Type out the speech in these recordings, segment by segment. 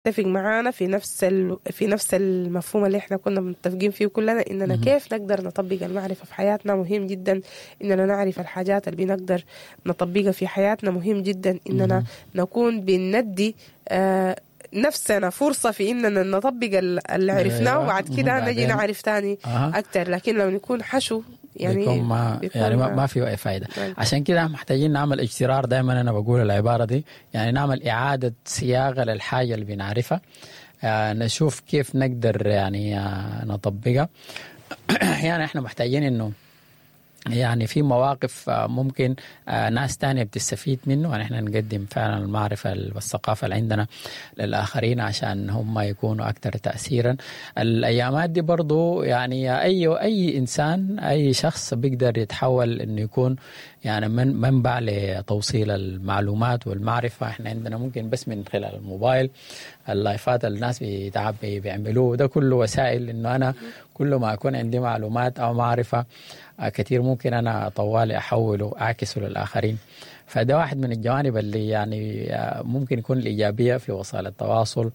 تتفق معانا في نفس المفهوم اللي احنا كنا متفقين فيه كلنا، اننا كيف نقدر نطبق المعرفة في حياتنا. مهم جدا اننا نعرف الحاجات اللي بنقدر نطبقها في حياتنا. مهم جدا اننا نكون بندي نفسنا فرصة في اننا نطبق اللي عرفناه، وبعد كده نجي نعرف تاني اكتر. لكن لو نكون حشو يعني بيكون ما بيكون يعني ما في اي فائدة. عشان كده محتاجين نعمل اجترار، دائما انا بقول العبارة دي، يعني نعمل اعاده صياغة للحاجة اللي بنعرفها، نشوف كيف نقدر يعني نطبقها. احيانا احنا محتاجين انه يعني في مواقف ممكن ناس تانية بتستفيد منه، يعني احنا نقدم فعلا المعرفة والثقافة اللي عندنا للآخرين عشان هم يكونوا أكثر تأثيرا. الأيامات دي برضو يعني أي إنسان، أي شخص بيقدر يتحول إنه يكون يعني منبع لتوصيل المعلومات والمعرفة. احنا عندنا ممكن بس من خلال الموبايل، اللايفات الناس بيتعب بيعملوه، ده كله وسائل إنه أنا كل ما أكون عندي معلومات أو معرفة كثير ممكن أنا طوالي أحوله أعكسه للآخرين. فده واحد من الجوانب اللي يعني ممكن يكون الإيجابية في وسائل التواصل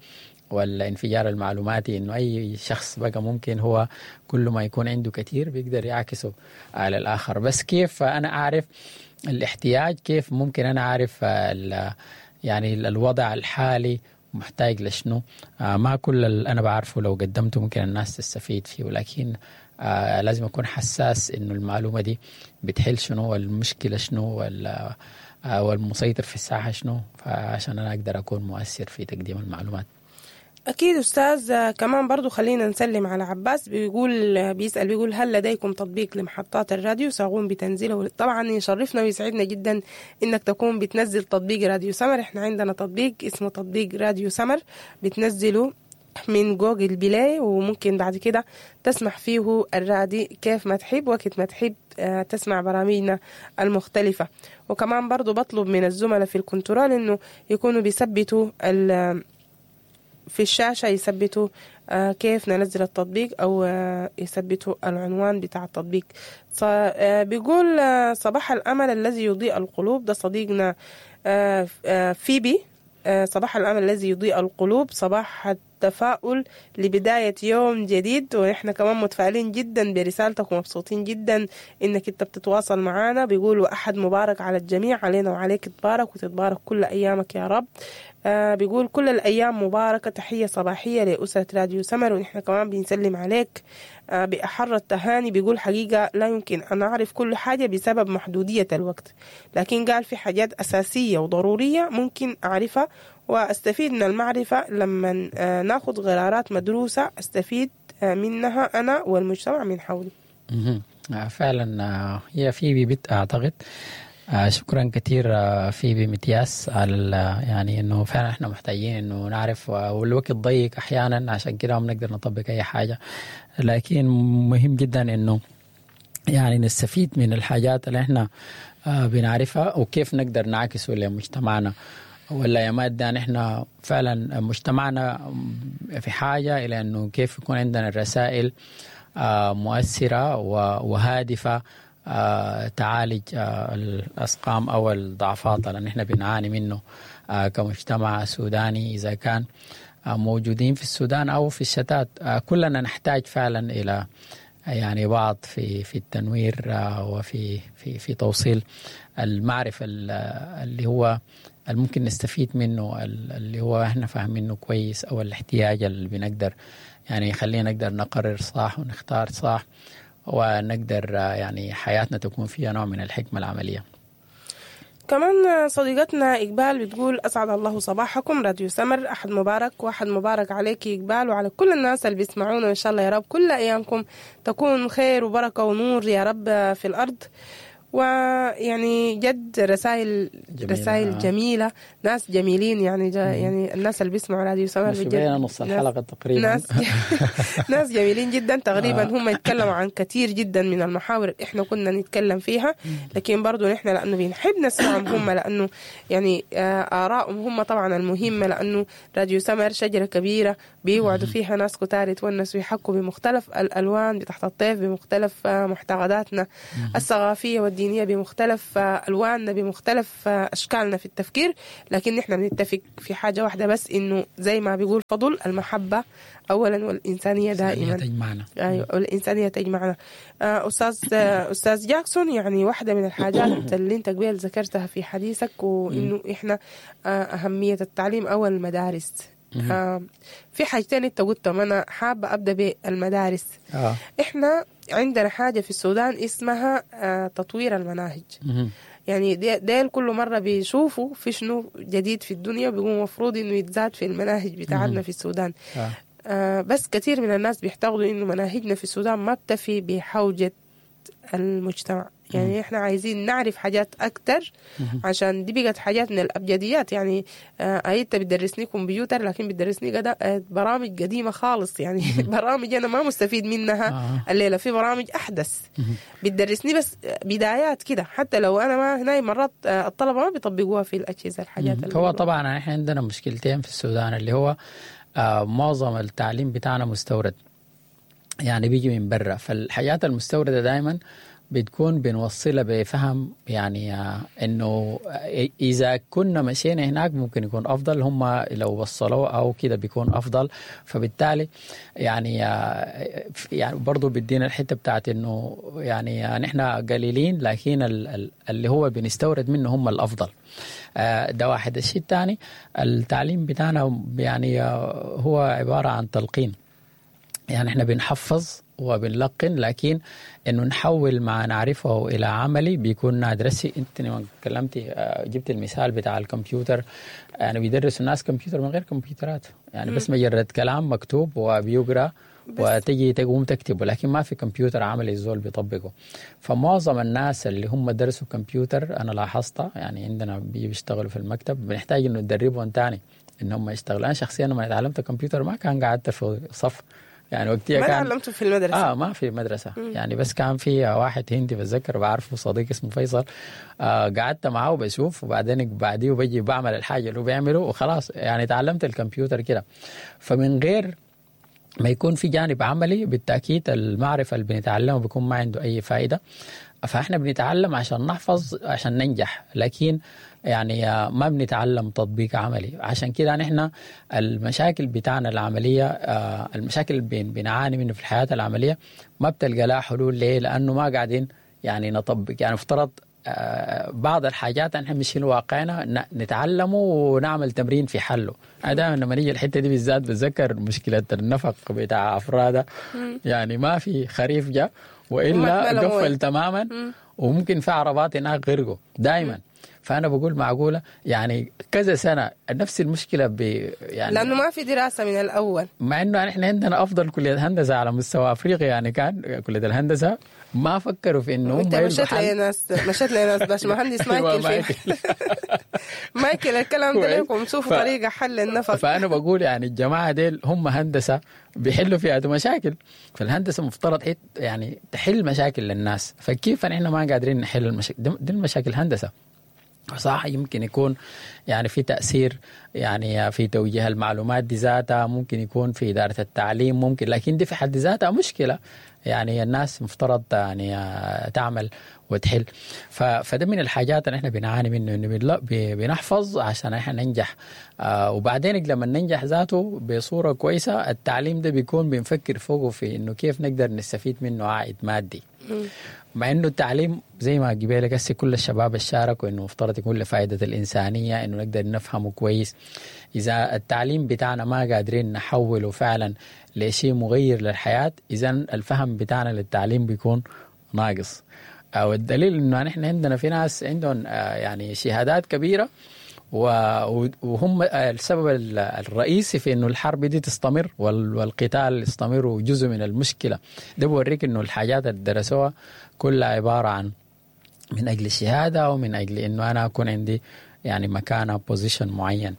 والانفجار المعلوماتي، إنه أي شخص بقى ممكن هو كل ما يكون عنده كثير بيقدر يعكسه على الآخر. بس كيف أنا أعرف الاحتياج؟ كيف ممكن أنا أعرف يعني الوضع الحالي محتاج لشنو؟ ما كل اللي أنا بعرفه لو قدمته ممكن الناس تستفيد فيه، ولكن لازم أكون حساس إنه المعلومة دي بتحل شنو، والمشكلة شنو، والمسيطر في الساحة شنو، فعشان أنا أقدر أكون مؤثر في تقديم المعلومات. أكيد أستاذ. كمان برضو خلينا نسلم على عباس، بيقول بيسأل بيقول هل لديكم تطبيق لمحطات الراديو؟ سأقوم بتنزيله. طبعا يشرفنا ويسعدنا جدا إنك تكون بتنزل تطبيق راديو سمر. إحنا عندنا تطبيق اسمه تطبيق راديو سمر، بتنزله من جوجل بلاي، وممكن بعد كده تسمح فيه الرادي كيف ما تحب، وقت ما تحب تسمع برامجنا المختلفة. وكمان برضو بطلب من الزملاء في الكنترول إنه يكونوا بيثبتوا في الشاشة، يثبتوا كيف ننزل التطبيق، أو يثبتوا العنوان بتاع التطبيق. بيقول صباح الأمل الذي يضيء القلوب، ده صديقنا فيبي. صباح الأمل الذي يضيء القلوب، صباح التفاؤل لبداية يوم جديد. ونحن كمان متفائلين جدا برسالتك ومبسوطين جدا إنك أنت بتتواصل معنا. بيقولوا أحد مبارك على الجميع، علينا وعليك تبارك وتتبارك كل أيامك يا رب. بيقول كل الأيام مباركة، تحية صباحية لأسرة راديو سمر، ونحن كمان بنسلم عليك بأحر التهاني. بيقول حقيقة لا يمكن أن أعرف كل حاجة بسبب محدودية الوقت، لكن قال في حاجات أساسية وضرورية ممكن أعرفها وأستفيد من المعرفة لما ناخد قرارات مدروسة أستفيد منها أنا والمجتمع من حولي. فعلا هي في بيت أعتقد. شكرا كثير فيبي متياس على يعني انه فعلا احنا محتاجين انه نعرف، والوقت ضيق احيانا عشان كده ما بنقدر نطبق اي حاجة، لكن مهم جدا انه يعني نستفيد من الحاجات اللي احنا بنعرفها وكيف نقدر نعكسه لمجتمعنا. والايامات دي نحن فعلا مجتمعنا في حاجة الى انه كيف يكون عندنا الرسائل مؤثرة وهادفه تعالج الأسقام أو الضعفات اللي نحن بنعاني منه كمجتمع سوداني، إذا كان موجودين في السودان أو في الشتات. كلنا نحتاج فعلا إلى يعني بعض في التنوير وفي في في توصيل المعرفة اللي هو الممكن نستفيد منه، اللي هو احنا فاهمينه كويس، أو الاحتياج اللي بنقدر يعني يخلينا نقدر نقرر صح ونختار صح، ونقدر يعني حياتنا تكون فيها نوع من الحكمة العملية. كمان صديقتنا إقبال بتقول أسعد الله صباحكم راديو سمر، أحد مبارك وأحد مبارك عليك إقبال وعلى كل الناس اللي بيسمعونا، إن شاء الله يا رب كل أيامكم تكون خير وبركة ونور يا رب في الأرض. ويعني جد رسائل جميلة، رسائل جميلة، ناس جميلين يعني يعني الناس اللي بيسمعوا راديو سمر بجد نص الحلقة تقريبا ناس جميلين جدا تقريبا. هم يتكلموا عن كثير جدا من المحاور اللي احنا كنا نتكلم فيها، لكن برضو نحن لأنه بنحب نسمعهم هم، لأنه يعني آرائهم هم طبعا المهمة، لأنه راديو سمر شجرة كبيرة بيوعدوا فيها ناس كتار يتونسوا ويحكوا بمختلف الألوان بتحت الطيف، بمختلف معتقداتنا الثقافية والدينية. الدينية، بمختلف ألواننا، بمختلف أشكالنا في التفكير، لكن نحن بنتفق في حاجة واحدة بس، إنه زي ما بيقول فضل، المحبة أولا والإنسانية دائما تجمعنا. أيوة، والإنسانية تجمعنا. أستاذ جاكسون، يعني واحدة من الحاجات اللي أنت قبل ذكرتها في حديثك، وإنه إحنا أهمية التعليم أو المدارس. في حاجتين أنت قلتهم، أنا حابة أبدأ بالمدارس. إحنا عندنا حاجة في السودان اسمها تطوير المناهج. يعني ديل كل مرة بيشوفوا في شنو جديد في الدنيا، بيقوموا مفروض إنه يتزاد في المناهج بتاعتنا في السودان. بس كثير من الناس بيعتقدوا إنه مناهجنا في السودان ما بتفي بحوجة المجتمع. يعني احنا عايزين نعرف حاجات اكتر، عشان دي بقت حاجات من الابجديات. يعني انت بتدرسني كمبيوتر، لكن بتدرسني برامج قديمة خالص، يعني برامج انا ما مستفيد منها الليلة. في برامج احدث بتدرسني بس بدايات كده، حتى لو انا ما هنا مرات الطلبة ما بيطبقوها في الاجهزة الحاجات. هو طبعا احنا عندنا مشكلتين في السودان، اللي هو معظم التعليم بتاعنا مستورد، يعني بيجي من برا. فالحاجات المستوردة دائما بتكون بنوصلها بفهم، يعني انه اذا كنا مشينا هناك ممكن يكون افضل، هم لو وصلوه او كده بيكون افضل. فبالتالي يعني برضو بدينا الحتة بتاعت انه يعني نحن قليلين، لكن اللي هو بنستورد منه هم الافضل. ده واحد. الشيء الثاني، التعليم بتاعنا يعني هو عبارة عن تلقين، يعني احنا بنحفظ وبنلقن، لكن انه نحول ما نعرفه الى عملي بيكون نادر. انت لما تكلمتي جبت المثال بتاع الكمبيوتر، يعني بيدرسوا الناس كمبيوتر من غير كمبيوترات، يعني بس مجرد كلام مكتوب وبيقرا وتجي تقوم تكتبه، لكن ما في كمبيوتر عملي الزول بيطبقه. فمعظم الناس اللي هم درسوا كمبيوتر انا لاحظتها، يعني عندنا بيشتغلوا في المكتب، بنحتاج انه ندربهم تاني ان هم يشتغلوا. انا شخصيا لما تعلمت كمبيوتر ما كان قعدت في صف، يعني وقتها ما تعلمته في المدرسة. ما في مدرسة. يعني بس كان في واحد هندي بتذكر بعرفه، صديق اسمه فيصل، قعدت معه وبشوف، وبعدين بعديه بجي بعمل الحاجة اللي هو بيعمله وخلاص، يعني تعلمت الكمبيوتر كده. فمن غير ما يكون في جانب عملي بالتأكيد المعرفة اللي بنتعلمه بيكون ما عنده أي فائدة. فإحنا بنتعلم عشان نحفظ عشان ننجح، لكن يعني ما بنتعلم تطبيق عملي. عشان كده نحن المشاكل بتاعنا العملية، المشاكل بنعاني منه في الحياة العملية ما بتلقى لها حلول. ليه؟ لأنه ما قاعدين يعني نطبق. يعني افترض بعض الحاجات نحن مش واقعنا نتعلمه ونعمل تمرين في حله. أنا دائما لما نيجي الحتة دي بالذات بتذكر مشكلة النفق بتاع أفرادة، يعني ما في خريف جاء وإلا قفل تماما، وممكن في عربات هناك غرقوا دائما. فأنا بقول معقولة يعني كذا سنة نفس المشكلة يعني لأنه ما في دراسة من الأول، مع إنه نحن عندنا أفضل كلية هندسة على مستوى أفريقيا. يعني كان كلية الهندسة ما فكروا في إنه أنت مشيت لناس باش مهندس مايكل مايكل الكلام ده لكم، شوفوا طريقة حل النفق. فأنا بقول يعني الجماعة ديل هم هندسة بيحلوا فيها مشاكل، فالهندسة مفترض يعني تحل مشاكل للناس، فكيف نحن ما قادرين نحل المشاكل دي؟ المشاكل هندسة صح، يمكن يكون يعني في تأثير يعني في توجيه المعلومات دي ذاتها، ممكن يكون في إدارة التعليم، ممكن، لكن دي في حد ذاتها مشكلة. يعني الناس مفترض يعني تعمل وتحل. فده من الحاجات اللي احنا بنعاني منه، انه بنحفظ عشان احنا ننجح، وبعدين لما ننجح ذاته بصورة كويسة التعليم ده بيكون بنفكر فوقه في انه كيف نقدر نستفيد منه عائد مادي. مع انه التعليم زي ما قبلك هسه كل الشباب شاركوا انه مفترض يكون لفائدة الانسانية، انه نقدر نفهمه كويس. اذا التعليم بتاعنا ما قادرين نحوله فعلا لشيء مغير للحياة، اذا الفهم بتاعنا للتعليم بيكون ناقص. والدليل انه نحن عندنا في ناس عندهم يعني شهادات كبيرة، وهم السبب الرئيسي في انه الحرب دي تستمر والقتال يستمر، وجزء من المشكلة ده بوريك انه الحاجات اللي درسوها كلها عبارة عن من اجل الشهادة، ومن اجل انه انا اكون عندي يعني مكانه position معين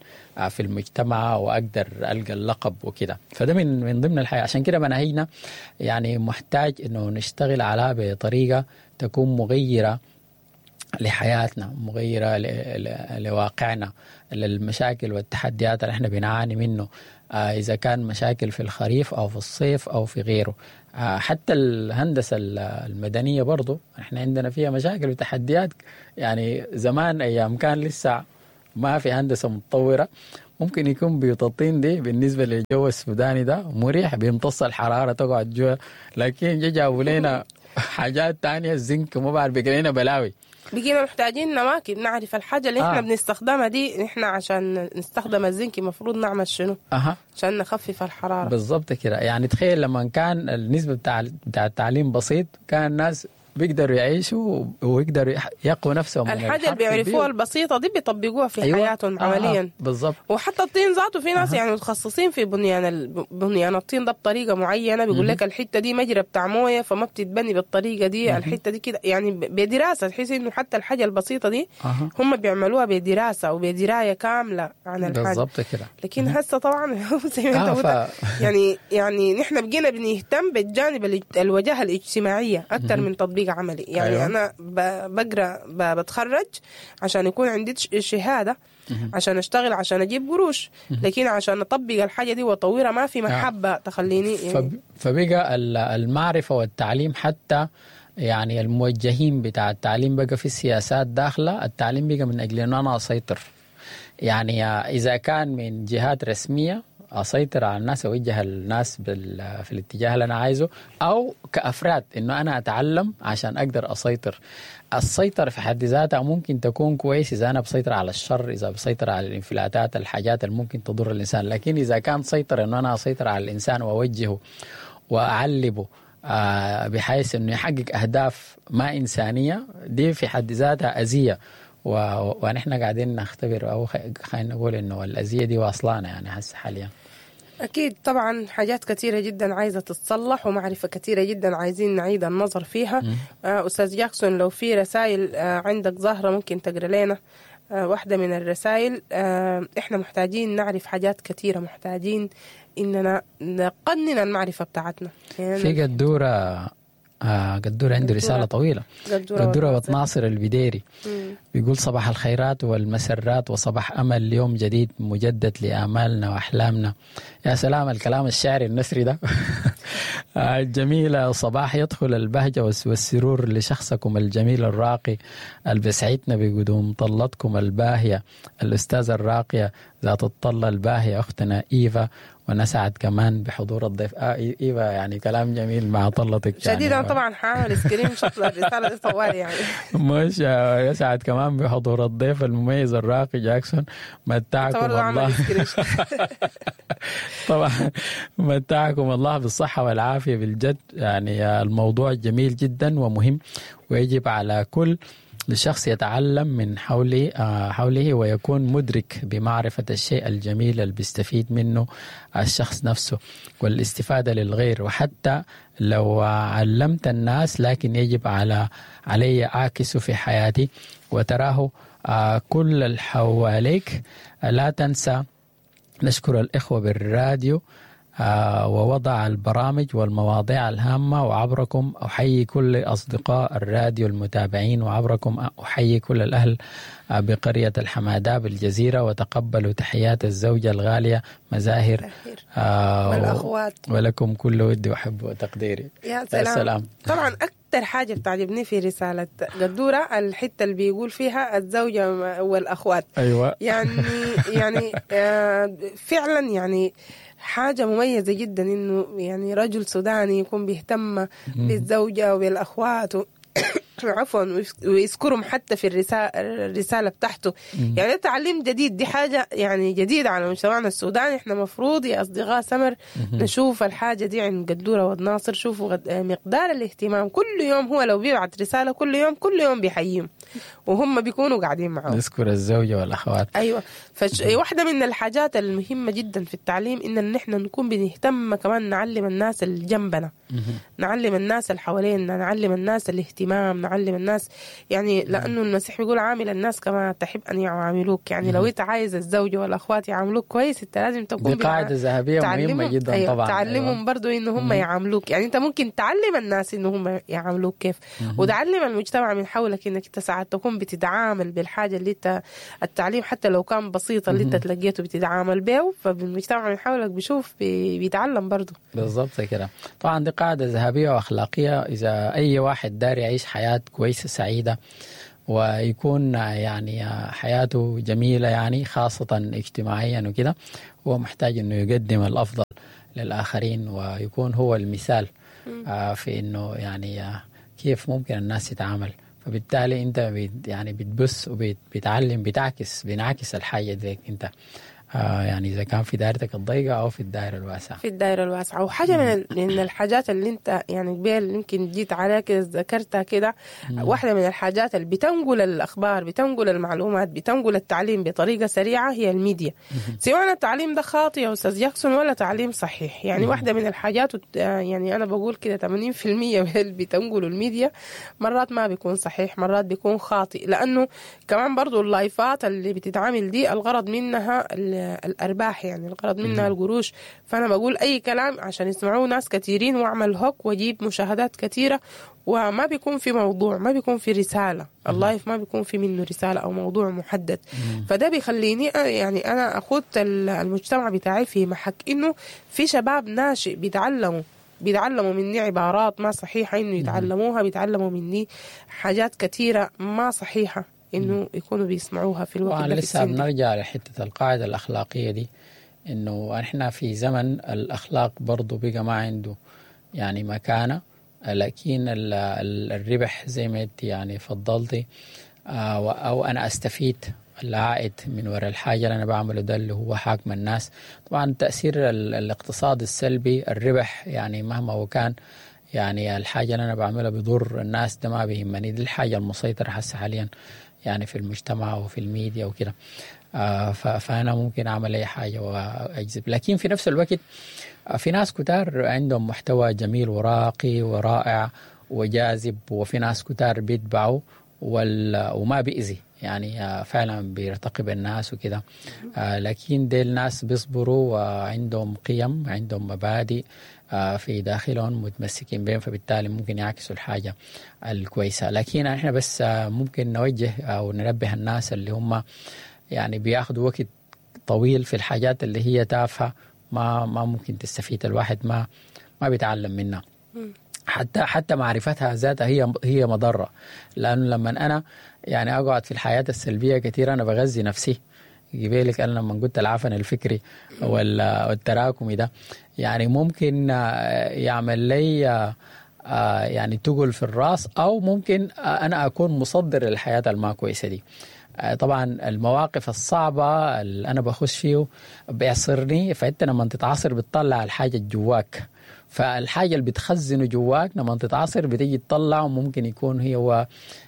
في المجتمع واقدر القى اللقب وكده. فده من ضمن الحياة. عشان كده مناهجنا يعني محتاج انه نشتغل عليها بطريقة تكون مغيرة لحياتنا، مغيرة لواقعنا، للمشاكل والتحديات اللي احنا بنعاني منه. إذا كان مشاكل في الخريف أو في الصيف أو في غيره. حتى الهندسة المدنية برضو احنا عندنا فيها مشاكل وتحديات. يعني زمان أيام كان لسه ما في هندسة متطورة، ممكن يكون بيوت الطين دي بالنسبة للجو السوداني ده مريح، بيمتص الحرارة تقعد جوا، لكن جابوا لنا حاجات تانية، الزنك ما بعرف، بقى لنا بلاوي. بقينا محتاجين نواكب نعرف الحاجة اللي احنا بنستخدمها دي، احنا عشان نستخدم الزنك المفروض نعمل شنو عشان نخفف الحرارة. بالضبط كده. يعني تخيل لما كان النسبة بتاع التعليم بسيط، كان الناس بيقدروا يعيشوا ويقدروا يقوا نفسهم. الحاجة اللي بيعرفوها البسيطة دي بيطبقوها في حياتهم عمليا. بالضبط. وحتى الطين ذاته في ناس يعني متخصصين في بنيان الطين ده بطريقة معينة، بيقول لك الحتة دي مجرى بتاع موية فما بتتبني بالطريقة دي، الحتة دي كده، يعني بدراسة، تحس إنه حتى الحاجة البسيطة دي هم بيعملوها بدراسة وبدراية كاملة عن الحاجة. بالضبط كده. لكن هسه طبعا زي ما انت قلت يعني نحن بقينا بنهتم بالجانب الوجاهة الاجتماعية أكثر من تطبيق عملي. يعني أيوة. أنا بقرأ بتخرج عشان يكون عندي شهادة، عشان أشتغل، عشان أجيب قروش، لكن عشان أطبق الحاجة دي وأطورها ما في محبة تخليني يعني. فبقى المعرفة والتعليم، حتى يعني الموجهين بتاع التعليم بقى في السياسات داخلة التعليم بقى من أجل أن أنا أسيطر. يعني إذا كان من جهات رسمية أسيطر على الناس، أوجه الناس في الاتجاه اللي أنا عايزه، أو كأفراد إنه أنا أتعلم عشان أقدر أسيطر. السيطرة في حد ذاتها ممكن تكون كويس إذا أنا بسيطر على الشر، إذا بسيطر على الانفلاتات، الحاجات اللي ممكن تضر الإنسان. لكن إذا كان سيطر إنه أنا أسيطر على الإنسان وأوجهه وأعلبه بحيث إنه يحقق أهداف ما إنسانية، دي في حد ذاتها أذية. ونحن قاعدين نختبر، أو خلينا نقول إنه الأذية دي واصلانا يعني هسه حاليا. أكيد طبعا حاجات كثيرة جدا عايزة تتصلح، ومعرفة كثيرة جدا عايزين نعيد النظر فيها. أستاذ جاكسون لو في رسائل عندك ظاهرة ممكن تقرأ لنا واحدة من الرسائل. إحنا محتاجين نعرف حاجات كثيرة، محتاجين إننا نقنن المعرفة بتاعتنا. يعني في قدورة، قدورة عنده رسالة طويلة. قدورة ناصر البديري بيقول صباح الخيرات والمسرات وصباح أمل يوم جديد مجدد لآمالنا وأحلامنا. يا سلام الكلام الشعري النثري ده الجميلة. صباح يدخل البهجة والسرور لشخصكم الجميل الراقي اللي بيسعدنا بقدوم طلتكم الباهية، الأستاذة الراقية ذات الطلة الباهية أختنا إيفا، ونسعد كمان بحضور الضيف إيفا. يعني كلام جميل مع طلتك شديد. يعني أنا طبعا حاعمل screenshot للرسالة دي طوال يعني. مش يسعد كمان بحضور الضيف المميز الراقي جاكسون. متعكم الله طبعا متعكم الله بالصحة والعافية بالجد. يعني الموضوع جميل جدا ومهم، ويجب على كل الشخص يتعلم من حوله ويكون مدرك بمعرفة الشيء الجميل اللي بيستفيد منه الشخص نفسه والاستفادة للغير. وحتى لو علمت الناس لكن يجب علي أعكسه في حياتي وتراه كل اللي حواليك. لا تنسى نشكر الإخوة بالراديو ووضع البرامج والمواضيع الهامة، وعبركم أحيي كل أصدقاء الراديو المتابعين، وعبركم أحيي كل الأهل بقرية الحمادة بالجزيرة، وتقبلوا تحيات الزوجة الغالية مزاهر والأخوات، ولكم كل ودي وحب وتقديري. يا سلام. سلام. طبعا أكثر حاجة بتعجبني في رسالة قدورة الحتة اللي بيقول فيها الزوجة والأخوات. أيوة. يعني فعلا يعني حاجة مميزة جدا إنه يعني رجل سوداني يكون بيهتم بالزوجة وبالأخوات عفوا ويذكرهم حتى في الرسالة بتاعته. يعني تعليم جديد، دي حاجة يعني جديدة على مجتمعنا السوداني. احنا مفروض يا أصدقاء سمر نشوف الحاجة دي عند قدورة وناصر. شوفوا مقدار الاهتمام كل يوم، هو لو بيبعت رسالة كل يوم كل يوم بيحييهم وهم بيكونوا قاعدين معه. نذكر الزوجة والأخوات. أيوة. واحدة من الحاجات المهمة جدا في التعليم إن نحن نكون بنهتم كمان نعلم الناس اللي جنبنا، نعلم الناس اللي حوالينا، نعلم الناس الاهتمام، نعلم الناس يعني، لأنه المسيح بيقول عامل الناس كما تحب أن يعاملوك. يعني لو أنت عايز الزوجة والأخوات يعاملوك كويس أنت لازم تكون دي قاعدة ذهبية مهمة جدا. أيوة. طبعا تعلمهم. أيوة. برضو إنه هم يعاملوك، يعني أنت ممكن تعلم الناس إنه هم يعاملوك كيف، وتعلم المجتمع من حولك إنك تساعد بتاعت تكون بتتعامل بالحاجة اللي انت، التعليم حتى لو كان بسيط اللي انت تلقيته بتتعامل به، فالمجتمع من حولك بيشوف بيتعلم برضه. بالضبط كده. طبعا دي قاعدة ذهبية وأخلاقية، إذا أي واحد دار يعيش حياة كويسة سعيدة ويكون يعني حياته جميلة يعني خاصة اجتماعيا وكده، هو محتاج إنه يقدم الأفضل للآخرين ويكون هو المثال في إنه يعني كيف ممكن الناس تتعامل. فبالتالي أنت يعني بتبث وبتعلم، بنعكس الحاجة ديك أنت، يعني إذا كان في دائرتك الضيقة أو في الدائرة الواسعة. في الدائرة الواسعة. وحاجة من الحاجات اللي أنت يعني قبل يمكن جيت عليها كده ذكرتها كده، واحدة من الحاجات اللي بتنقل الأخبار، بتنقل المعلومات، بتنقل التعليم بطريقة سريعة هي الميديا. سواء التعليم ده خاطئ يا أستاذ جاكسون ولا تعليم صحيح، يعني واحدة من الحاجات، يعني أنا بقول كده 80% من اللي بتنقله الميديا مرات ما بيكون صحيح، مرات بيكون خاطئ، لأنه كمان برضو اللايفات اللي بتتعامل دي الغرض منها الأرباح، يعني الغرض منها القروش. فأنا بقول أي كلام عشان يسمعوه ناس كثيرين وأعمل hook وأجيب مشاهدات كثيرة، وما بيكون في موضوع، ما بيكون في رسالة. ال live ما بيكون في منه رسالة أو موضوع محدد. فده بيخليني يعني أنا أخذ المجتمع بتاعي في محك، إنه في شباب ناشئ بيتعلموا مني عبارات ما صحيحة إنه يتعلموها، بيتعلموا مني حاجات كثيرة ما صحيحة إنه يكونوا بيسمعوها في الوقت ده. لسه بنرجع لحتة القاعدة الأخلاقية دي، إنه إحنا في زمن الأخلاق برضو بقى ما عنده يعني مكانة، لكن الربح زي ما انت يعني فضلتي، أو أنا أستفيد العائد من وراء الحاجة اللي أنا بعمله ده اللي هو حاكم الناس. طبعا تأثير الاقتصاد السلبي، الربح يعني مهما هو كان، يعني الحاجة اللي أنا بعملها بضر الناس ده ما بيهمني، دي الحاجة المسيطرة حسه حاليا يعني في المجتمع وفي الميديا وكده. فأنا ممكن أعمل أي حاجة وأجذب. لكن في نفس الوقت في ناس كتار عندهم محتوى جميل وراقي ورائع وجاذب، وفي ناس كتار بيتبعوا وما بيأذي يعني فعلا بيرتقي بالناس وكده. لكن دي الناس بيصبروا وعندهم قيم، عندهم مبادئ في داخلهم متمسكين بهم، فبالتالي ممكن يعكسوا الحاجة الكويسة. لكن احنا بس ممكن نوجه أو ننبه الناس اللي هم يعني بياخدوا وقت طويل في الحاجات اللي هي تافهة، ما ممكن تستفيد الواحد، ما بيتعلم منها. حتى معرفتها ذاتها هي مضرة، لأنه لما أنا يعني أقعد في الحياة السلبية كثير أنا بغذي نفسي. قبالك أنا لما قلت العفن الفكري والتراكمي ده يعني ممكن يعمل لي يعني تقل في الراس، أو ممكن أنا أكون مصدر للحياة الما كويسة دي. طبعا المواقف الصعبة اللي أنا بخش فيه بيعصرني، فأنت لما تتعصر بتطلع الحاجة جواك، فالحاجة اللي بتخزنه جواك لما تتعصر بتيجي تطلع، وممكن يكون هو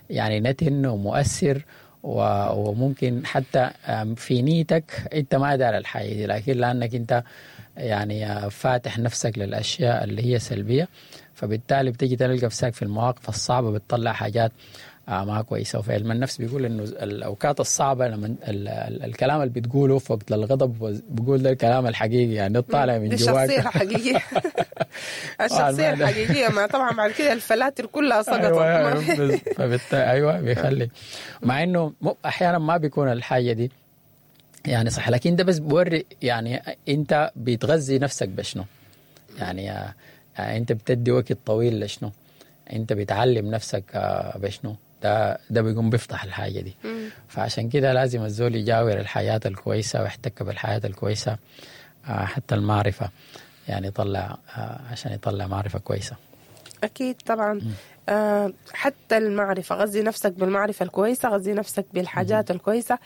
يعني نتن ومؤثر، وممكن حتى في نيتك انت ما دار الحاجة دي، لكن لأنك انت يعني فاتح نفسك للأشياء اللي هي سلبية، فبالتالي بتيجي تلقى نفسك في المواقف الصعبة بتطلع حاجات ما كويسة. وفي علم النفس بيقول إنه الأوقات الصعبة لما الكلام اللي بتقوله في وقت الغضب بيقول ده الكلام الحقيقي، يعني طالع من جواك، الشخصية الحقيقية. الشخصية الحقيقية ما طبعا بعد كده الفلاتر كلها سقطت. أيوة فبالتالي أيوة بيخلي، مع إنه أحيانا ما بيكون الحاجة دي يعني صح، لكن ده بس بوري يعني أنت بتغذي نفسك بشنو، يعني أنت بتدي وقت طويل لشنو، أنت بتعلم نفسك بشنو، ده بيقوم بيفتح الحاجة دي. فعشان كده لازم الزول يجاور الحياة الكويسة ويحتك بالحياة الكويسة، حتى المعرفة يعني يطلع، عشان يطلع معرفة كويسة. أكيد طبعا. حتى المعرفة، غذي نفسك بالمعرفة الكويسة، غذي نفسك بالحاجات الكويسة،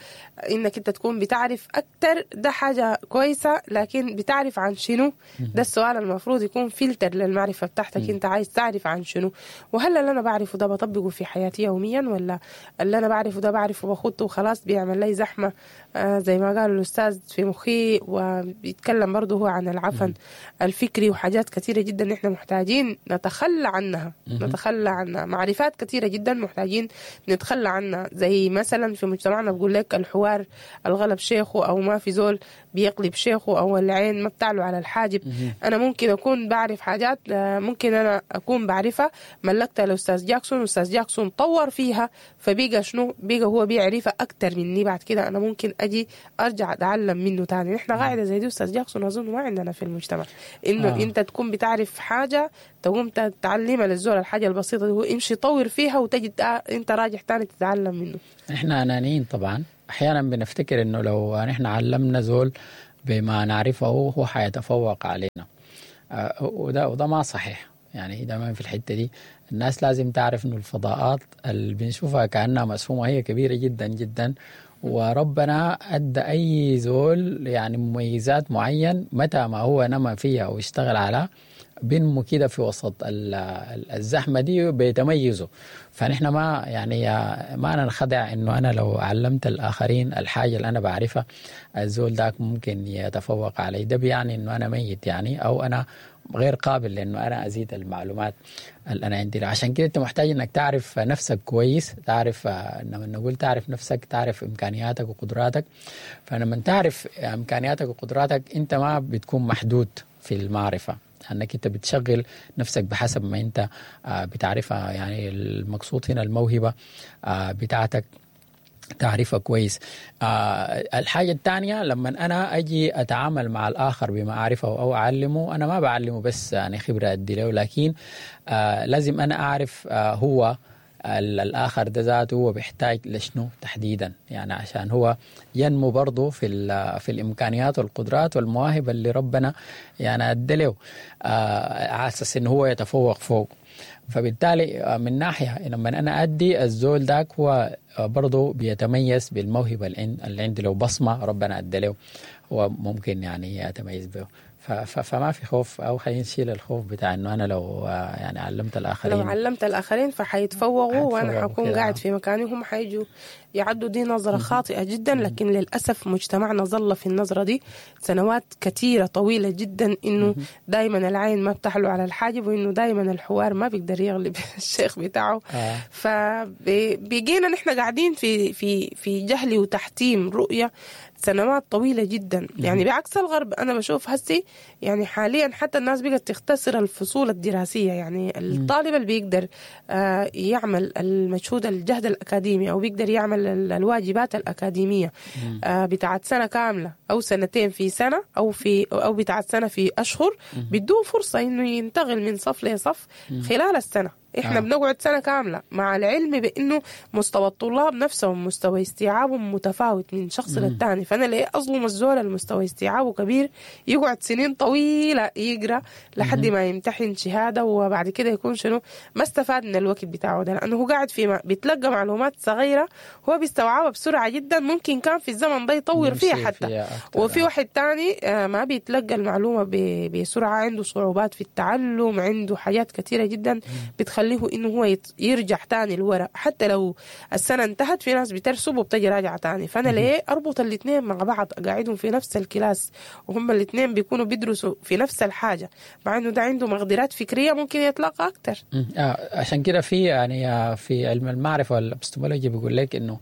إنك أنت تكون بتعرف أكتر ده حاجة كويسة، لكن بتعرف عن شنو؟ ده السؤال المفروض يكون فلتر للمعرفة بتاعتك. أنت عايز تعرف عن شنو؟ وهل اللي أنا بعرفه ده بطبقه في حياتي يوميا، ولا اللي أنا بعرفه ده بعرفه بخطه وخلاص بيعمل لي زحمة زي ما قال الأستاذ في مخي. وبيتكلم برضه هو عن العفن الفكري وحاجات كثيرة جدا نحن محتاجين نتخلى عنها، نتخلى عنها. معرفات كثيرة جدا محتاجين نتخلى عنها، زي مثلا في مجتمعنا بقول لك الحوار الغلب شيخه، أو ما في زول بيقلب شيخه، أو العين ما بتعلو على الحاجب. أنا ممكن أكون بعرف حاجات ممكن أنا أكون بعرفها ملكتها لأستاذ جاكسون، أستاذ جاكسون طور فيها فبيقى شنو، بيقى هو بيعرفها أكتر مني. بعد كده أنا ممكن أجي أرجع أتعلم منه تاني. نحن قاعدة زي دي أستاذ جاكسون أظن ما عندنا في المجتمع، إنه أنت تكون بتعرف حاجة تقوم تتعلمها للزول الحاجة البسيطة دي، هو يمشي يطور فيها وتجد أنت راجع تاني تتعلم منه. إحنا أنانيين طبعا، أحيانا بنفتكر إنه لو نحن علمنا زول بما نعرفه هو حيتفوق علينا، وده ما صحيح. يعني دائما في الحتة دي الناس لازم تعرف إنه الفضاءات اللي بنشوفها كأنها مسفومة هي كبيرة جدا جدا، وربنا أدى أي زول يعني مميزات معين متى ما هو نما فيها واشتغل على بنمو كده في وسط الزحمة دي بيتميزوا. فنحن ما يعني ما ننخدع إنه أنا لو علمت الآخرين الحاجة اللي أنا بعرفها الزول داك ممكن يتفوق علي، ده بيعني إنه أنا ميت يعني، أو أنا غير قابل لأنه أنا أزيد المعلومات اللي أنا عندي. عشان كده أنت محتاج إنك تعرف نفسك كويس، تعرف لما نقول تعرف نفسك تعرف إمكانياتك وقدراتك. فلما تعرف إمكانياتك وقدراتك أنت ما بتكون محدود في المعرفة، أنك أنت بتشغل نفسك بحسب ما أنت بتعرفها. يعني المقصود هنا الموهبة بتاعتك تعرفها كويس. الحاجة الثانية لما أنا أجي أتعامل مع الآخر بما أعرفه أو أعلمه، أنا ما بعلمه بس يعني خبرة أدي له، لكن لازم أنا أعرف هو الآخر ده ذاته هو بيحتاج لشنو تحديدا، يعني عشان هو ينمو برضه في الإمكانيات والقدرات والمواهب اللي ربنا يعني أدى له، على أساس إنه هو يتفوق فوق. فبالتالي من ناحية لما أنا أدي الزول داك هو برضه بيتميز بالموهبة اللي عندي، لو بصمة ربنا أدى له هو ممكن يعني يتميز به. فما في خوف، أو خلينا نشيل الخوف بتاع إنه أنا لو يعني علمت الآخرين، لو علمت الآخرين فحيتفوقوا وأنا حكون قاعد في مكاني هم حيجوا يعدوا. دي نظرة خاطئة جدا، لكن للأسف مجتمعنا ظل في النظرة دي سنوات كثيرة طويلة جدا، إنه دايما العين ما بتحلو على الحاجب، وإنه دايما الحوار ما بيقدر يغلب الشيخ بتاعه. فبيجينا نحن قاعدين في في في جهل وتحتيم رؤية سنوات طويلة جدا. يعني بعكس الغرب أنا بشوف هسي يعني حاليا حتى الناس بقت تختصر الفصول الدراسية، يعني الطالب اللي بيقدر يعمل المجهود الجهد الأكاديمي أو بيقدر يعمل الواجبات الأكاديمية بتاعت سنة كاملة أو سنتين في سنة أو في أو بتاعت سنة في أشهر، بيدوه فرصة إنه ينتقل من صف لصف خلال السنة. إحنا بنقعد سنة كاملة، مع العلم بأنه مستوى الطلاب نفسهم مستوى استيعابهم متفاوت من شخص للتاني. فأنا ليه أظلم الزول المستوى استيعابه كبير يقعد سنين طويلة يقرأ لحد ما يمتحن شهادة، وبعد كده يكون شنو ما استفاد من الوقت بتاعه ده، لأنه هو قاعد في بيتلقى معلومات صغيرة هو بيستوعبها بسرعة جدا، ممكن كان في الزمن ده يطور فيها حتى فيها. وفي واحد تاني ما بيتلقى المعلومة بسرعة، عنده صعوبات في التعلم، عنده حاجات كثيرة جدا بتخليه إنه هو يرجع تاني لورا. حتى لو السنة انتهت في ناس بترسب وبتجي راجعة تاني. فأنا ليه أربط الاثنين مع بعض، أقعدهم في نفس ال class وهم الاثنين بيكونوا بيدرسوا في نفس الحاجة، مع إنه ده عنده مقدرات فكرية ممكن يتلقى أكتر. عشان كده في يعني في علم المعرفة والابستمولوجي بيقول لك إنه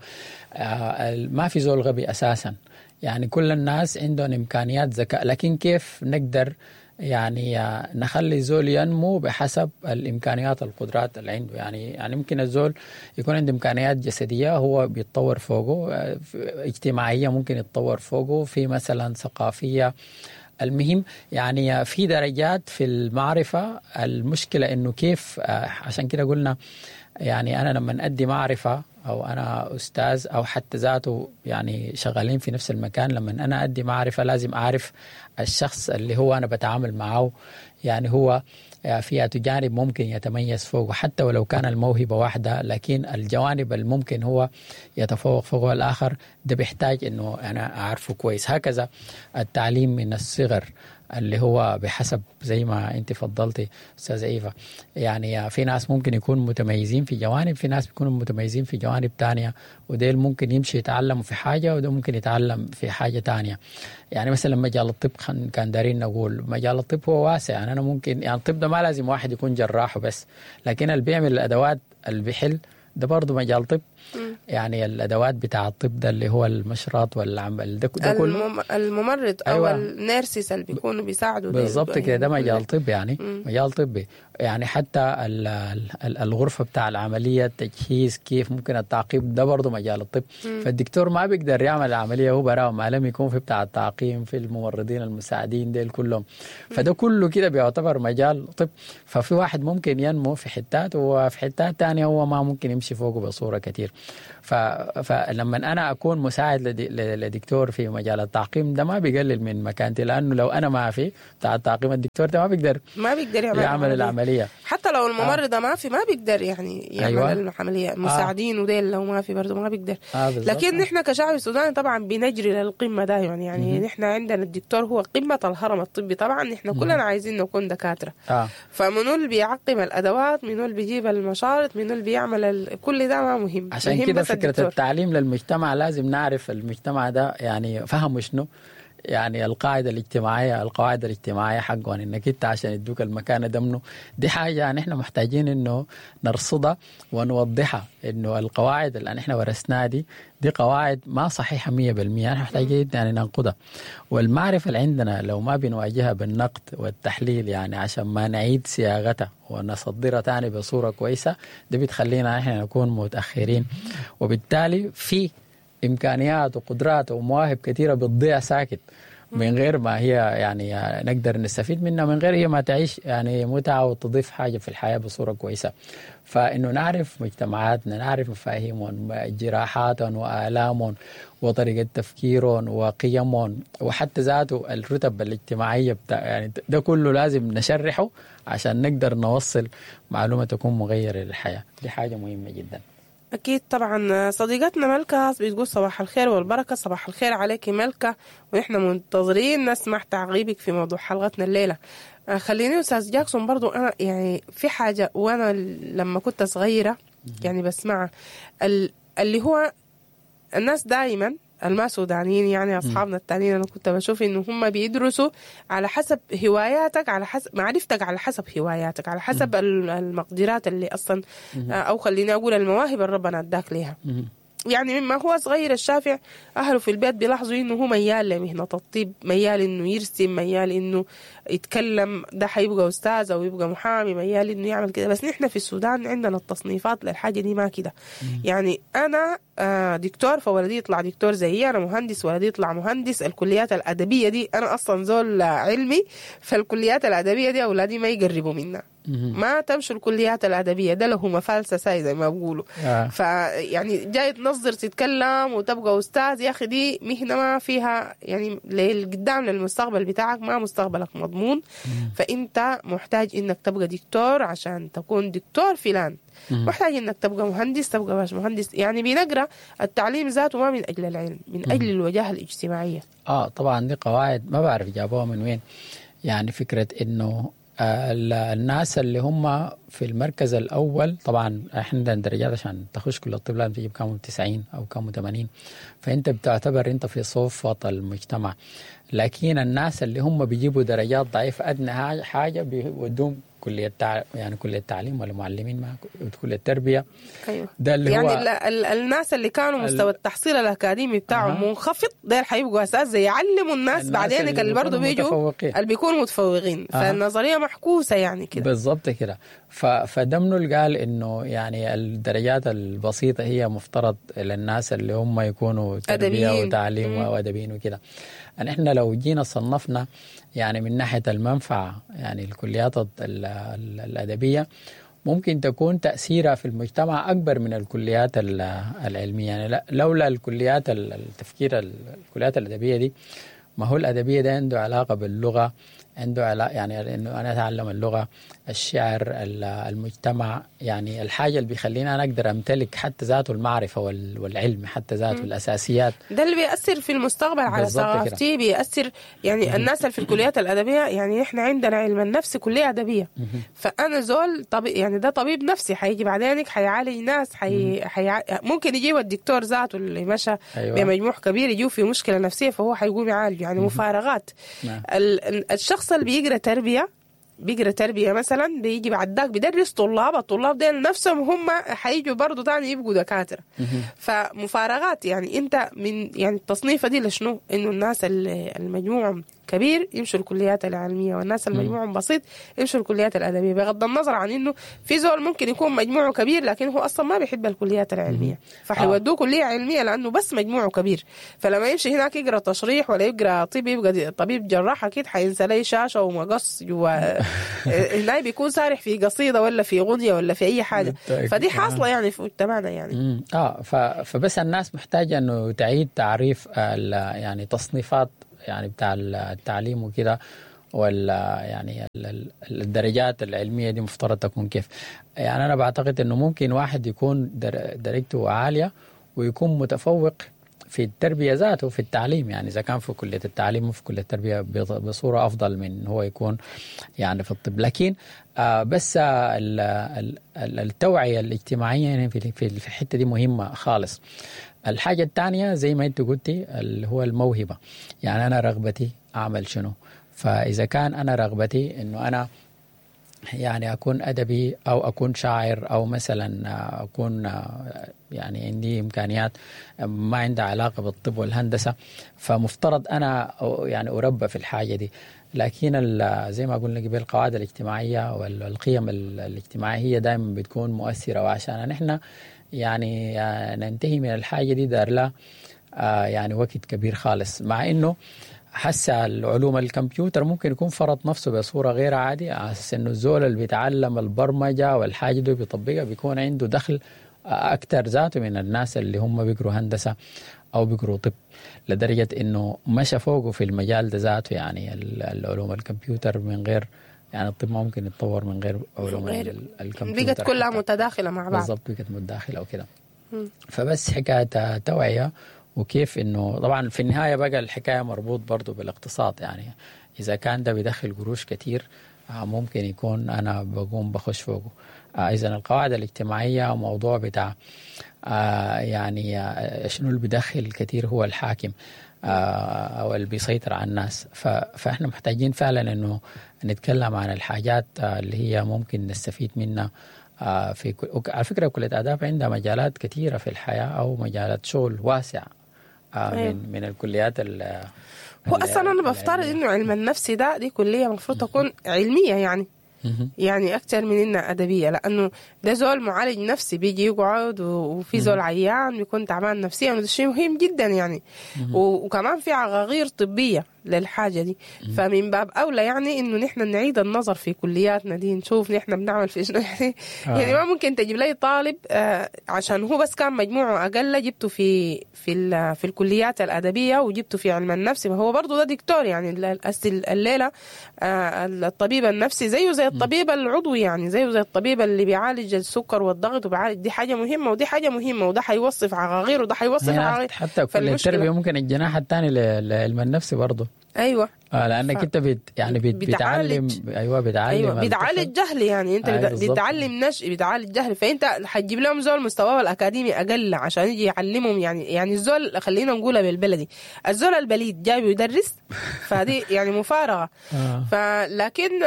ما في زول غبي أساسا، يعني كل الناس عندهم إمكانيات ذكاء، لكن كيف نقدر يعني نخلي زول ينمو بحسب الإمكانيات القدرات اللي عنده. يعني ممكن الزول يكون عنده إمكانيات جسدية هو بيتطور فوقه، اجتماعية ممكن يتطور فوقه، في مثلا ثقافية. المهم يعني في درجات في المعرفة. المشكلة إنه كيف، عشان كده قلنا يعني أنا لما أدي معرفة أو أنا أستاذ أو حتى ذاته يعني شغالين في نفس المكان، لما أنا أدي معرفة لازم أعرف الشخص اللي هو أنا بتعامل معه، يعني هو في جانب ممكن يتميز فوقه حتى ولو كان الموهبة واحدة، لكن الجوانب الممكن هو يتفوق فوق الآخر ده بيحتاج إنه أنا أعرفه كويس. هكذا التعليم من الصغر اللي هو بحسب زي ما انت فضلتي استاذه ايفا، يعني في ناس ممكن يكونوا متميزين في جوانب، في ناس بيكونوا متميزين في جوانب تانية، وديل ممكن يمشي يتعلموا في حاجة وده ممكن يتعلم في حاجة تانية. يعني مثلا مجال الطب كان دارين نقول مجال الطب هو واسع، يعني انا ممكن يعني الطب ده ما لازم واحد يكون جراح وبس، لكن اللي بيعمل الادوات اللي بيحل ده برضه مجال طب. يعني الادوات بتاع الطب ده اللي هو المشرط والعمل ده كله الممرض او أيوة. ال nurses اللي بيكونوا بيساعدوا بالضبط كده، ده مجال طب يعني. مجال طبي يعني. حتى الغرفة بتاع العملية، التجهيز، كيف ممكن التعقيم، ده برضه مجال الطب. فالدكتور ما بيقدر يعمل العملية هو براه، ما لم يكون في بتاع التعقيم، في الممرضين المساعدين ديل كلهم، فده كله كده بيعتبر مجال طب. ففي واحد ممكن ينمو في حتات، وفي حتات تانية هو ما ممكن يمشي فوقه بصورة كتير. فلما أنا أكون مساعد لدكتور في مجال التعقيم ده ما بيقلل من مكانتي، لأنه لو أنا ما في بتاع التعقيم الدكتور ده ما بيقدر يعمل العملية. حتى لو الممرضة ما في ما بيقدر يعني يعمل أيوة. العملية، المساعدين وديل لو ما في برضه ما بيقدر. لكن نحن كشعب السوداني طبعا بنجري للقمة دائما، يعني نحن عندنا الدكتور هو قمة الهرم الطبي، طبعا نحن كلنا عايزين نكون دكاترة. فمنو اللي بيعقم الأدوات، منو اللي بيجيب المشارط، منو اللي بيعمل كل ده ما مهم. عشان كده فكرة التعليم للمجتمع لازم نعرف المجتمع ده يعني فهمه شنو، يعني القاعدة الاجتماعية، القواعد الاجتماعية حقهم، انك انت عشان يدوك المكانة ده منه، دي حاجة يعني احنا محتاجين انه نرصدها ونوضحها، انه القواعد اللي احنا ورثناها دي قواعد ما صحيحة 100%، احنا محتاجين يعني ننقدها. والمعرفة اللي عندنا لو ما بنواجهها بالنقد والتحليل يعني عشان ما نعيد صياغتها ونصدرها تاني بصورة كويسة، ده بتخلينا احنا نكون متأخرين، وبالتالي في إمكانيات وقدرات ومواهب كثيرة بتضيع ساكت من غير ما هي يعني نقدر نستفيد منها، من غير هي ما تعيش يعني متعة وتضيف حاجة في الحياة بصورة كويسة. فإنه نعرف مجتمعاتنا، نعرف مفاهيمهم، جراحاتهم وآلامهم وطريقة تفكيرهم وقيمهم، وحتى ذاته الرتب الاجتماعية بتاع يعني ده كله لازم نشرحه عشان نقدر نوصل معلومة تكون مغيرة للحياة. دي حاجة مهمة جدا. أكيد طبعا. صديقتنا ملكة بتقول صباح الخير والبركة. صباح الخير عليك ملكة، ونحن منتظرين نسمع تعقيبك في موضوع حلقتنا الليلة. خليني أستاذ جاكسون برضو، أنا يعني في حاجة وأنا لما كنت صغيرة يعني بسمعها، اللي هو الناس دائما الما سودانيين يعني أصحابنا التانيين، أنا كنت بشوف إنه هم بيدرسوا على حسب هواياتك، على حسب معرفتك، على حسب هواياتك، على حسب المقدرات اللي أصلا أو خليني أقول المواهب اللي ربنا أداك ليها. يعني مما هو صغير الشافع أهله في البيت بيلاحظوا إنه هو ميال لمهنة الطب، ميال إنه يرسم، ميال إنه يتكلم، ده حيبقى أستاذ أو يبقى محامي، ميال إنه يعمل كده. بس نحن في السودان عندنا التصنيفات للحاجة دي ما كده. يعني أنا دكتور فولدي يطلع دكتور زيي، أنا مهندس ولدي يطلع مهندس. الكليات الأدبية دي أنا أصلا زول علمي، فالكليات الأدبية دي أولادي ما يقربوا منها، ما تمشوا الكليات الأدبية، ده له مفالسة ساي زي ما بقولوا. فيعني جاي تنظر تتكلم وتبقى أستاذ، يا أخي دي مهنة ما فيها يعني للقدام للمستقبل بتاعك، ما مستقبلك مضمون. فأنت محتاج إنك تبقى دكتور عشان تكون دكتور فلان، محتاج إنك تبقى مهندس تبقى باش مهندس. يعني بنقرأ التعليم ذاته ما من أجل العلم، من أجل الوجاهة الاجتماعية. طبعا دي قواعد ما بعرف جابوها من وين. يعني فكرة إنه الناس اللي هم في المركز الأول، طبعا احنا عندنا درجات عشان تخش كل الطب لازم تجيب كام 90 أو كام 80، فأنت بتعتبر أنت في صفة المجتمع. لكن الناس اللي هم بيجيبوا درجات ضعيفة أدنى حاجة بيودوهم كلية يعني كلية التعليم ولا معلمين، ما كلية التربية. أيوة. ده اللي يعني هو الناس اللي كانوا مستوى التحصيل الأكاديمي بتاعهم منخفض، ده حيبقوا أساس يعلموا الناس بعدين اللي برضه بيجوا اللي بيكونوا متفوقين. فالنظرية محكوسة يعني كده بالضبط كده. فده منو اللي قال إنه يعني الدرجات البسيطة هي مفترض للناس اللي هم يكونوا تربية وتعليم وأدبيين وكده. يعني إحنا لو جينا صنفنا يعني من ناحية المنفعة، يعني الكليات الأدبية ممكن تكون تأثيرها في المجتمع أكبر من الكليات العلمية. يعني لولا الكليات التفكير الكليات الأدبية دي، ما هو الأدبية ده عنده علاقة باللغة، عنده علاقة يعني انه انا اتعلم اللغة، الشعر، المجتمع، يعني الحاجة اللي بيخليني انا اقدر امتلك حتى ذاته المعرفة والعلم حتى ذاته الاساسيات. ده اللي بيأثر في المستقبل على ثقافتي، بيأثر يعني الناس اللي في الكليات الأدبية. يعني احنا عندنا علم النفس كلية أدبية، فأنا زول طبيب، يعني ده طبيب نفسي حيجي بعدينك حيعالج ناس، ممكن يجيب الدكتور ذاته اللي مشى بمجموع كبير يجيه في مشكلة نفسية فهو حيقوم يعالج، يعني مفارقات. الشخص اللي بيقرأ تربية، بيقرا تربيه مثلا، بيجي بعد ذاك بيدرس طلاب، الطلاب ديل نفسهم هم حيجوا برضه تاني يبقوا دكاترة. فمفارقات يعني انت من يعني التصنيفه دي لشنو؟ انه الناس اللي المجموع كبير يمشوا الكليات العلمية، والناس المجموع بسيط يمشوا الكليات الادبية، بغض النظر عن انه في زول ممكن يكون مجموعة كبير لكن هو اصلا ما بيحب الكليات العلمية، فحيودوه كليه علمية لانه بس مجموعة كبير. فلما يمشي هناك يقرا تشريح ولا يقرا طب، يبقى طبيب جراح اكيد حينسى لي شاشة ومقص جوا هناك، بيكون سارح في قصيدة ولا في غنية ولا في اي حاجة. فدي حاصله يعني في مجتمعنا يعني. فبس الناس محتاجه انه تعيد تعريف يعني تصنيفات يعني بتاع التعليم وكده، ولا يعني الدرجات العلمية دي مفترض تكون كيف. يعني أنا بعتقد أنه ممكن واحد يكون درجته عالية ويكون متفوق في التربية ذاته في التعليم، يعني إذا كان في كلية التعليم وفي كلية التربية بصورة أفضل من هو يكون يعني في الطب. لكن بس التوعية الاجتماعية يعني في الحتة دي مهمة خالص. الحاجة الثانية زي ما أنت قلتي اللي هو الموهبة، يعني أنا رغبتي أعمل شنو. فإذا كان أنا رغبتي إنه أنا يعني أكون أدبي أو أكون شاعر أو مثلا أكون يعني عندي إمكانيات ما عندها علاقة بالطب والهندسة، فمفترض أنا يعني أربى في الحاجة دي. لكن زي ما قلنا قبل القواعد الاجتماعية والقيم الاجتماعية هي دائما بتكون مؤثرة، وعشان نحن يعني ننتهي من الحاجة دي دار لها يعني وقت كبير خالص. مع إنه حس العلوم الكمبيوتر ممكن يكون فرض نفسه بصورة غير عادية، على أساس إنه الزول اللي بيتعلم البرمجة والحاجة دي بيطبقها بيكون عنده دخل أكتر ذاته من الناس اللي هم بيقروا هندسة أو بيقروا طب، لدرجة إنه مشى فوقه في المجال ده ذاته. يعني العلوم الكمبيوتر من غير يعني الطب ما ممكن يتطور من غير علوم الكمبيوتر، بقت كلها متداخلة مع بعض. بالضبط، بقت متداخلة وكده. فبس حكاية توعية، وكيف إنه طبعا في النهاية بقى الحكاية مربوط برضو بالاقتصاد. يعني إذا كان ده بيدخل قروش كتير ممكن يكون أنا بقوم بخش فوقه. إذا القواعد الاجتماعية وموضوع بتاع يعني شنو اللي بيدخل كتير هو الحاكم أو اللي بيسيطر على الناس. فإحنا محتاجين فعلا إنه نتكلم عن الحاجات اللي هي ممكن نستفيد منها في على فكرة كلية آداب عندها مجالات كثيرة في الحياة أو مجالات شغل واسعة من الكليات. هو أصلا أنا بفترض إنه علم النفس ده دي كلية المفروض تكون علمية، يعني يعني أكثر من إنها أدبية، لأنه ده زول معالج نفسي بيجي يقعد وفي زول عيان بيكون تعبان نفسيا، وده شيء مهم جدا يعني. وكمان في عقاقير طبية للحاجة دي. فمن باب أولى يعني إنه نحن نعيد النظر في كلياتنا دي، نشوف نحن بنعمل في شنو يعني. يعني ما ممكن تجيب لي طالب عشان هو بس كان مجموعة أقل جبته في في في الكليات الأدبية وجبته في علم النفس، ما هو برضه ده دكتور يعني. الليلة الطبيب النفسي زيه زي الطبيب العضوي، يعني زيه زي الطبيب اللي بيعالج السكر والضغط وبيعالج، دي حاجة مهمة ودي حاجة مهمة، وده حيوصف عقاقير وده حيوصف عقاقير. حتى كل التربية ممكن الجناح الثاني لعلم النفس برضه. ايوه لانك انت بتعلم. ايوه بتعلم. أيوة. بتعالج جهل يعني، انت بتعلم نشء، بتعالج جهل. فانت حتجيب لهم زول مستواه الاكاديمي اقل عشان يجي يعلمهم يعني الزول، خلينا نقولها بالبلدي، الزول البليد جاي يدرس، فدي يعني مفارقه. فلكن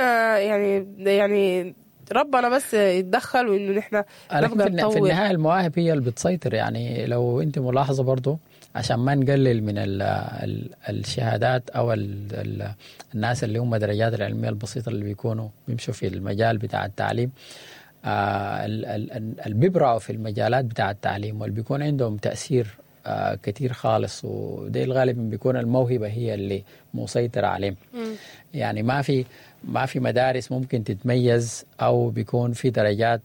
يعني ربنا بس يتدخل، وانه نحن نبقى نطور. في النهاية المواهب هي اللي بتسيطر. يعني لو انت ملاحظة برضو، عشان ما نقلل من الشهادات او الناس اللي هم درجات العلمية البسيطة اللي بيكونوا بيمشوا في المجال بتاع التعليم، اللي بيبرعوا في المجالات بتاع التعليم واللي بيكون عندهم تاثير كتير خالص، وده غالبا بيكون الموهبة هي اللي مسيطرة عليهم. يعني ما في مدارس ممكن تتميز او بيكون في درجات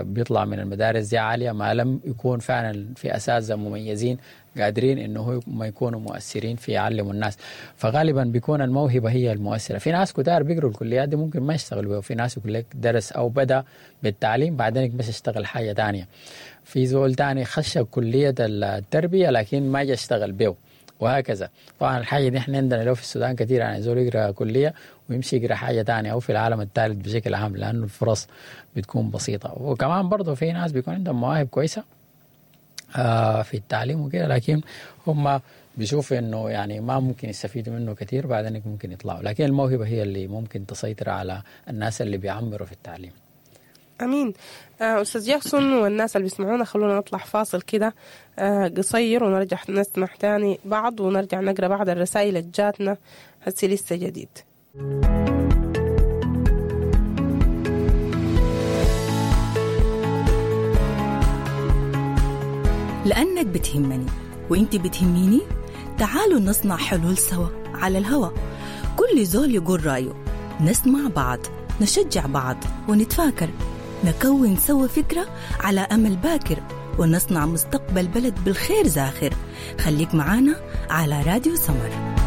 بيطلع من المدارس دي عالية ما لم يكون فعلا في اساتذة مميزين قادرين انه هم يكونوا مؤثرين في يعلموا الناس. فغالبا بيكون الموهبة هي المؤثرة. في ناس كتار بيقروا الكليات دي ممكن ما يشتغلوا بيها، وفي ناس يقول لك درس او بدا بالتعليم بعدين بس اشتغل حاجة تانية. في زول تاني خش كليه التربية لكن ما جا اشتغل بيه، وهكذا. طبعا الحاجة دي احنا عندنا لو في السودان كثير، يعني زول يقرا كليه ويمشي يقرا حاجة تانية، او في العالم الثالث بشكل عام، لانه الفرص بتكون بسيطة. وكمان برضه في ناس بيكون عندهم مواهب كويسة في التعليم وكده، لكن هم بيشوفوا انه يعني ما ممكن يستفيدوا منه كثير، بعدين ممكن يطلعوا. لكن الموهبة هي اللي ممكن تسيطر على الناس اللي بيعمروا في التعليم. امين. استاذ جاكسون والناس اللي بيسمعونا، خلونا نطلع فاصل كده قصير ونرجع نسمع تاني بعض ونرجع نقرا بعض الرسائل اللي جاتنا هسي لسه جديد. لأنك بتهمني وإنت بتهميني، تعالوا نصنع حلول سوا على الهوا. كل زول يقول رأيه، نسمع بعض، نشجع بعض ونتفاكر، نكون سوا فكرة على أمل باكر ونصنع مستقبل بلد بالخير زاخر. خليك معانا على راديو سمر.